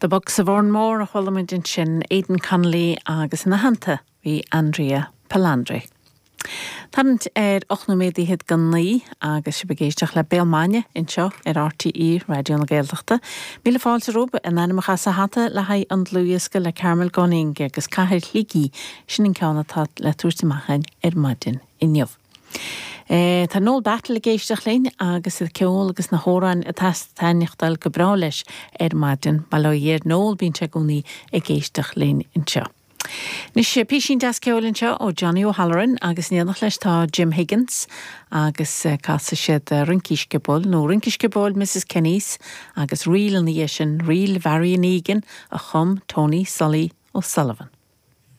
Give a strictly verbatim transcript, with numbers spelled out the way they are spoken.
The Bucks of Oranmore a chuala muid ansin Aidan Connolly agus ina theannta bhí Andrea Palandri. Tarraingt ar ocht nóiméad fhichead go naoi agus sibh ag éisteacht le Béal Maidine anseo ar RTÉ Raidió na Gaeltachta. Míle fáilte romhaibh in ainmneacha sa hata le haghaidh an dlúthdhiosca le Carmel Gunning agus Cathair Shligigh sin an ceann atá le tabhairt amach ar maidin inniu. E, tá Noel Battle ag éisteacht linn agus an ceol agus na hamhráin atá ag taitneachtáil go breá leis ar maidin bail ó Dhia ar Noel bíonn sé i gcónaí ag éisteacht linn anseo. Anois píosín deas ceoil anseo ó Johnny O'Halloran agus in éineacht leis tá Jim Higgins agus casfaidh siad Rince Sciobóil nó Rince Sciobóil Mrs Kenny's agus ríl ina dhiaidh sin ríl Mharion Egan a chum Tony Sully O'Sullivan.